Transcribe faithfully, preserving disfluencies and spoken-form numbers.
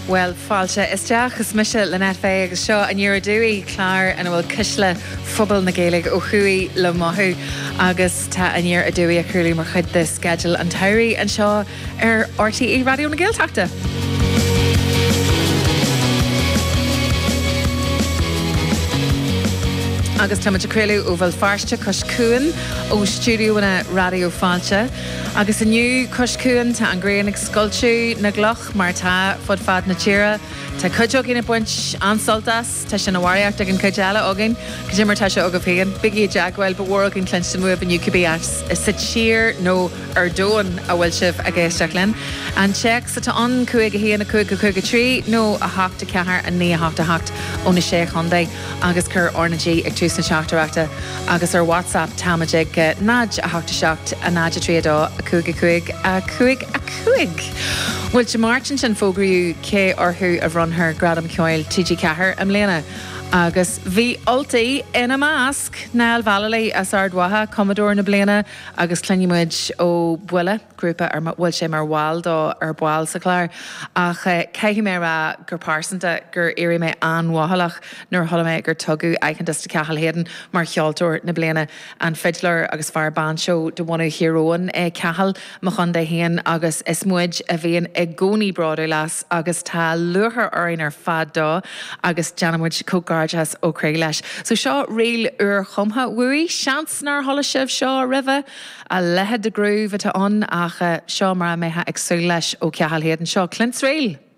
Bhuel fáilte isteach is mise Lynette Fay agus seo Aniar Aduaidh clár ina bhfuil cuisle phobal na Gaeilge ó thuaidh le mothú agus tá Aniar Aduaidh á chraoladh mar chuid de sceideal an tsamhraidh anseo ar RTÉ Raidió na Gaeltachta. Agus táimid ag craoladh ó Bhéal Feirste cois Cuain ó stiúideonna Raidió Fáilte. Agus inniu cois Cuain tá an ghrian ag scoilteadh na gcloch mar atá fud fad na tíre. Tá cuid againn ag baint an-sult as, tá sé ina bharraíocht ag an chuid eile againn, cad é mar tá sé agaibh féin. Bígí i dteagmháil, ba mhór againn cluinstin uaibh inniu cibé áit sa tír nó ar domhan a bhfuil sibh ag éisteacht linn. An téacs atá ann cúig a haon a cúig a cúig a trí nó a hocht a ceathair a naoi a hocht a hocht ó na Sé Chontae agus cuir RnaG ag tús na teachtaireachta agus ar WhatsApp táimid ag náid a hocht a seacht a náid a trí a dó a cúig a cúig a cúig a cúig. Bhuel Dé Máirt ansin fógraíodh cé orthu a bhronnfar Gradam Ceoil TG Ceathair i mbliana. Agus bhí Ultaigh ina measc, Niall Vallely as Ard Mhacha, cumadóir na bliana agus cluinfidh muid ó Buile, grúpa ar bhfuil sé mar bhall dó ar ball sa chlár. Ach caithfidh mé a rá gur pearsanta gur éirigh mé an-mhothálach nuair a chuala mé gur tugadh aitheantas do Cathal Hayden mar cheoltóir na bliana. An fidléir agus fear bainseó de bhunadh Thír Eoghain é Cathal, mo chontae féin, agus is muid a bhíonn i gcónaí bródúil as agus tá lúcháir orainn ar fad dó agus déanann muid comhghairdeas ó chroí leis. So seo ríl úrchumtha uaidh, seans nár chuala sibh seo roimhe, a leithéid de groove atá ann ach seo mar a mbeifeá ag súil leis ó Cathal Hayden. Seo Clints Reel.